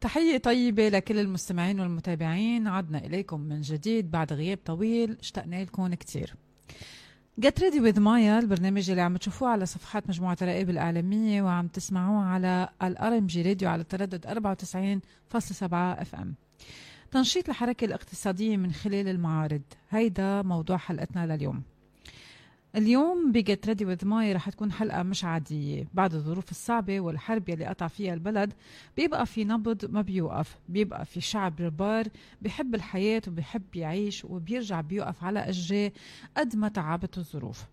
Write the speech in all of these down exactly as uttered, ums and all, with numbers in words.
تحية طيبة لكل المستمعين والمتابعين. عدنا إليكم من جديد بعد غياب طويل، اشتقنا لكم كتير. Get Ready with Maya البرنامج اللي عم تشوفوه على صفحات مجموعة الرائب الإعلامية وعم تسمعوه على الار ام جي راديو على التردد أربعة وتسعين فاصلة سبعة اف ام. تنشيط الحركة الاقتصادية من خلال المعارض، هيدا موضوع حلقتنا لليوم. اليوم بجت ريدي وذ ماي رح تكون حلقة مش عادية. بعد الظروف الصعبة والحرب يلي قطع فيها البلد بيبقى في نبض ما بيوقف، بيبقى في شعب ربار بيحب الحياة وبيحب يعيش وبيرجع بيوقف على أجريه قد ما تعبت الظروف.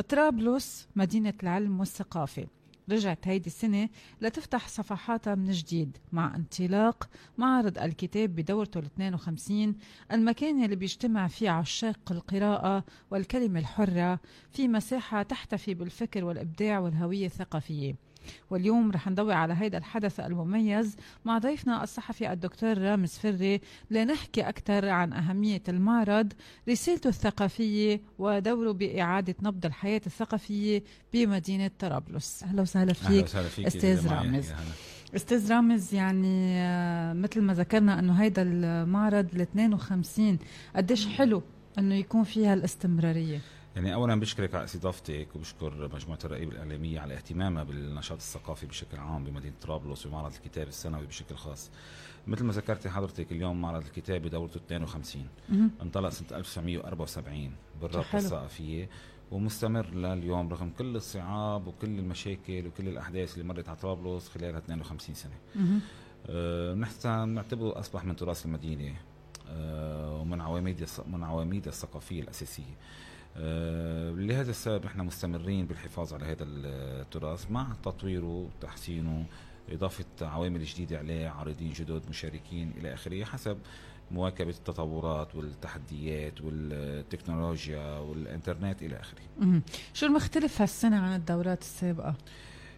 طرابلس مدينة العلم والثقافة رجعت هيدي السنة لتفتح صفحاتها من جديد مع انطلاق معرض الكتاب بدورته ال اثنين وخمسين، المكان اللي بيجتمع فيه عشاق القراءة والكلمة الحرة في مساحة تحتفي بالفكر والإبداع والهوية الثقافية. واليوم رح نضوي على هيدا الحدث المميز مع ضيفنا الصحفي الدكتور رامز فري لنحكي أكثر عن أهمية المعرض، رسالته الثقافية ودوره بإعادة نبض الحياة الثقافية بمدينة طرابلس. أهلا وسهلا فيك, فيك أستاذ رامز. أستاذ رامز، يعني مثل ما ذكرنا أنه هيدا المعرض ال اثنين وخمسين قديش حلو أنه يكون فيها الاستمرارية. يعني أولا بشكرك على استضافتك وبشكر مجموعة الرائب الإعلامية على اهتمامها بالنشاط الثقافي بشكل عام بمدينة طرابلس ومعرض الكتاب السنوي بشكل خاص. مثل ما ذكرتي حضرتك، اليوم معرض الكتاب بدورته اثنين وخمسين انطلق سنة ألف وتسعمية وأربعة وسبعين بالرابطة الثقافية ومستمر لليوم رغم كل الصعاب وكل المشاكل وكل الأحداث اللي مرت على طرابلس خلال اثنين وخمسين سنة. أه نحن نعتبره أصبح من تراث المدينة أه ومن عواميد من عواميد الثقافية الأساسية. أه لهذا السبب نحن مستمرين بالحفاظ على هذا التراث مع تطويره وتحسينه، إضافة عوامل جديدة عليه، عارضين جدد، مشاركين إلى آخره، حسب مواكبة التطورات والتحديات والتكنولوجيا والإنترنت إلى آخره. شو المختلف هالسنة عن الدورات السابقة؟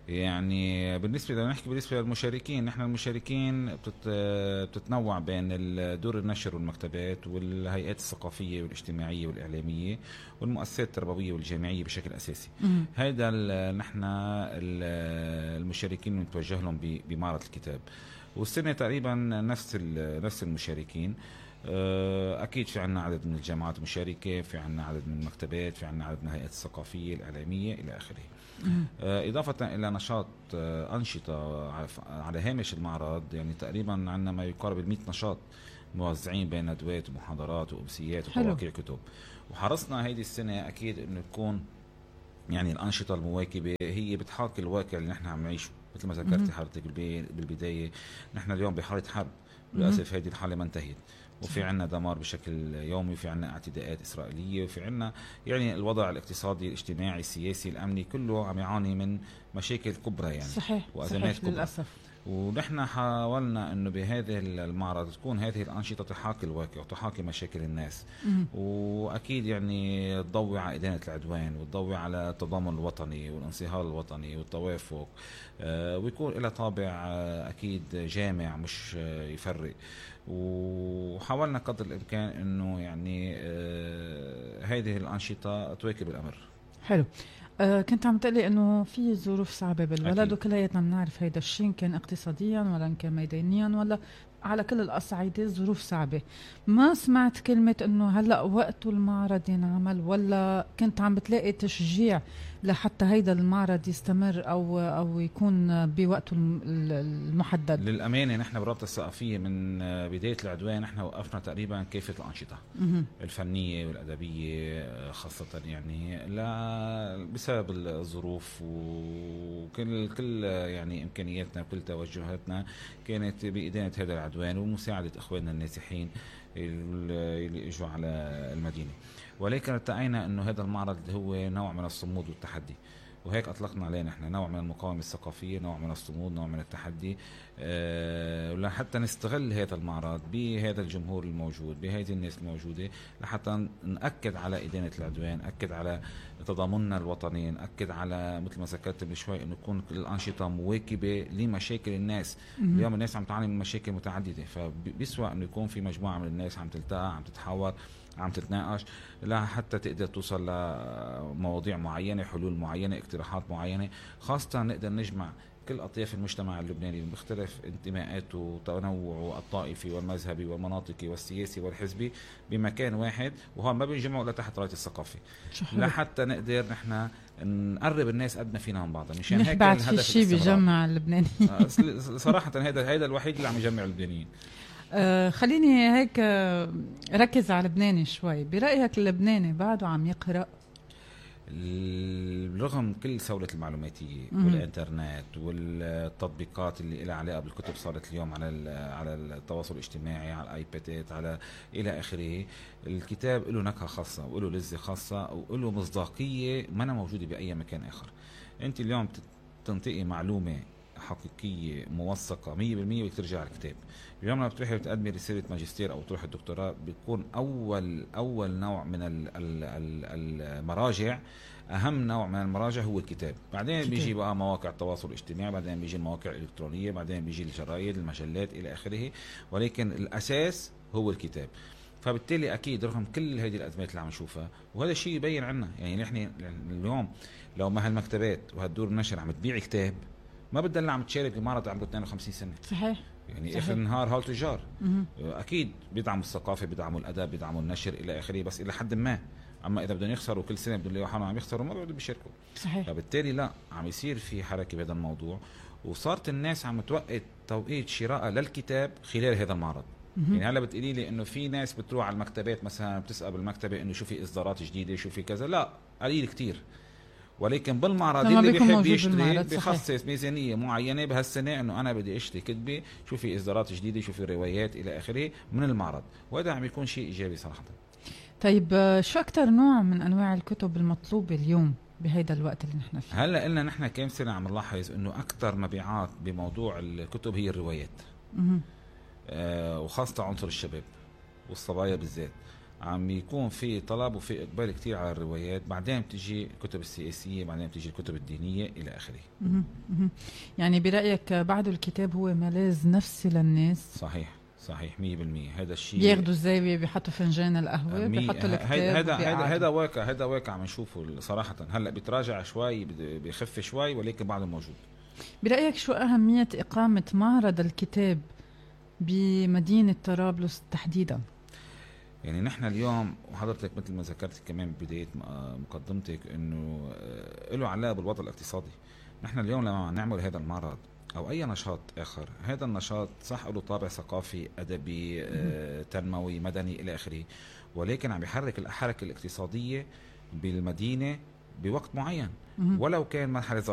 يعني بالنسبة لنا نحكي بالنسبة للمشاركين، نحن المشاركين بتتنوع بين دور النشر والمكتبات والهيئات الثقافية والاجتماعية والإعلامية والمؤسسات التربوية والجامعية بشكل أساسي. هذا نحن المشاركين نتوجه لهم بمعرض الكتاب، والسنة تقريبا نفس نفس المشاركين. أكيد في عنا عدد من الجامعات المشاركة، في عنا عدد من المكتبات، في عنا عدد من الهيئات الثقافية الإعلامية إلى آخره. إضافة إلى نشاط أنشطة على هامش المعرض، يعني تقريبا عندنا ما يقارب المئة نشاط موزعين بين ندوات ومحاضرات وأمسيات وتواقيع كتب. وحرصنا هيدي السنة أكيد إنه تكون يعني الأنشطة المواكبة هي بتحاكي الواقع اللي نحن عم نعيشه. مثل ما ذكرتي حضرتك بالبداية، نحن اليوم بحالة حرب، للأسف هذه الحالة ما انتهت، وفي عنا دمار بشكل يومي، وفي عنا اعتداءات إسرائيلية، وفي عنا يعني الوضع الاقتصادي الاجتماعي السياسي الأمني كله عم يعاني من مشاكل كبرى يعني صحيح. وأزمات صحيح كبرى للأسف. ونحن حاولنا أنه بهذه المعرض تكون هذه الأنشطة تحاكي الواقع وتحاكي مشاكل الناس، وأكيد يعني تضوي على إدانة العدوان وتضوي على التضامن الوطني والانصهار الوطني والتوافق، آه ويكون لها طابع آه أكيد جامع مش آه يفرق. وحاولنا قدر الإمكان أنه يعني آه هذه الأنشطة تواكب الأمر. حلو. أه كنت عم تقلي انه في ظروف صعبه بالبلد وكلياتنا بنعرف هيدا الشيء، كان اقتصاديا ولا كان ميدانيا ولا على كل الأصعدة ظروف صعبة. ما سمعت كلمة انه هلأ وقت المعرض ينعمل، ولا كنت عم بتلاقي تشجيع لحتى هيدا المعرض يستمر او او يكون بوقته المحدد؟ للأمانة نحن بالرابطة الثقافية من بداية العدوان نحن وقفنا تقريبا كافة الأنشطة الفنية والأدبية خاصة، يعني لا بسبب الظروف وكل كل يعني إمكانياتنا وكل توجهاتنا كانت بإدانة هذا العدوان ومساعدة إخواننا النازحين اللي اجوا على المدينة. ولكن ارتأينا انه هذا المعرض هو نوع من الصمود والتحدي، وهيك اطلقنا عليه نحن نوع من المقاومة الثقافية، نوع من الصمود، نوع من التحدي، أه لحتى نستغل هذا المعرض بهذا الجمهور الموجود، بهذه الناس الموجودة، لحتى نأكد على إدانة العدوان، نأكد على تضامننا الوطني، نأكد على مثل ما ذكرت من شوي انه تكون الأنشطة مواكبة لمشاكل الناس. اليوم الناس عم تعاني من مشاكل متعددة، فبيسوى انه يكون في مجموعة من الناس عم تلتقى، عم تتحاور، عم تتناقش لا حتى تقدر توصل لمواضيع معينة، حلول معينة، اقتراحات معينة، خاصة نقدر نجمع كل أطياف المجتمع اللبناني بمختلف انتماءاته وتنوعه الطائفي والمذهبي والمناطقي والسياسي والحزبي بمكان واحد، وهون ما بينجمعوا إلا تحت راية الثقافة لحتى نقدر نحن نقرب الناس قد ما فينا من بعضها. مشان هيك بعد في شيء بيجمع اللبنانيين صراحة هذا هذا الوحيد اللي عم يجمع اللبنانيين. آه خليني هيك آه ركز على لبناني شوي. برأيك اللبناني بعده عم يقرأ رغم كل سهولة المعلوماتية والإنترنت والتطبيقات اللي لها علاقة بالكتب صارت اليوم على على التواصل الاجتماعي، على الآيبادات، على إلى آخره، الكتاب له نكهة خاصة وله لذة خاصة وله مصداقية ما موجودة بأي مكان آخر. أنت اليوم تنطقي معلومة حقيقية موثقة مية بالمية وترجع على الكتاب. اليوم لما بتروحي بتقدمي رسالة ماجستير أو تروحي الدكتوراه بيكون أول أول نوع من المراجع، أهم نوع من المراجع هو الكتاب. بعدين كتاب. بيجي بقى مواقع التواصل الاجتماعي، بعدين بيجي المواقع الإلكترونية، بعدين بيجي الجرايد، المجلات إلى آخره، ولكن الأساس هو الكتاب. فبالتالي أكيد رغم كل هذه الأزمات اللي عم نشوفها، وهذا الشيء يبين عنا يعني نحن اليوم لو ما هالمكتبات وهالدور النشر عم تبيع كتاب ما بدنا عم تشارك بمعرض عمره اثنين وخمسين سنة. صحيح. يعني صحيح. اخر النهار هول تجار اكيد بيدعموا الثقافه، بيدعموا الادب، بيدعموا النشر الى اخره، بس الى حد ما. اما اذا بدهم يخسروا كل سنه بدهم يلاقوا حالهم عم يخسروا ما بدهم بيشاركوا. صحيح. فبالتالي لا عم يصير في حركه بهذا الموضوع، وصارت الناس عم توقت توقيت شراء للكتاب خلال هذا المعرض. مم. يعني هلا بتقولي لي انه في ناس بتروح على المكتبات مثلا بتسال بالمكتبه انه شو في اصدارات جديده شو في كذا، لا قليل كتير. ولكن بالمعرض اللي بيحب يشتري بيخصص ميزانيه معينه بهالسنه انه انا بدي اشتري كتبه، شو في اصدارات جديده، شو في روايات الى اخره من المعرض، وهذا عم يكون شيء ايجابي صراحه. طيب شو اكثر نوع من انواع الكتب المطلوبه اليوم بهيدا الوقت اللي نحن فيه؟ هلا قلنا نحن كم سنه عم نلاحظ انه اكثر مبيعات بموضوع الكتب هي الروايات. آه وخاصه عنصر الشباب والصبايا بالذات عم يكون في طلب وفي إقبال كتير على الروايات. بعدين بتجي الكتب السياسية، بعدين بتجي الكتب الدينية إلى آخره. يعني برأيك بعد الكتاب هو ملاذ نفسي للناس؟ صحيح صحيح مية بالمية. هذا الشيء بياخدوا الزاوية بيحطوا فنجان القهوة بيحطوا الكتاب. هذا هذا هذا واقع هذا واقع عم نشوفه صراحة. هلا بيتراجع شوي بيخف شوي ولكن بعده موجود. برأيك شو أهمية إقامة معرض الكتاب بمدينة طرابلس تحديدا؟ يعني نحن اليوم وحضرتك مثل ما ذكرت كمان ببداية مقدمتك انه له علاقة بالوضع الاقتصادي. نحن اليوم لما نعمل هذا المعرض او اي نشاط اخر، هذا النشاط صح له طابع ثقافي ادبي آه، تنموي مدني الى اخره، ولكن عم يحرك الحركة الاقتصادية بالمدينة بوقت معين ولو كان مرحلة ظرفية.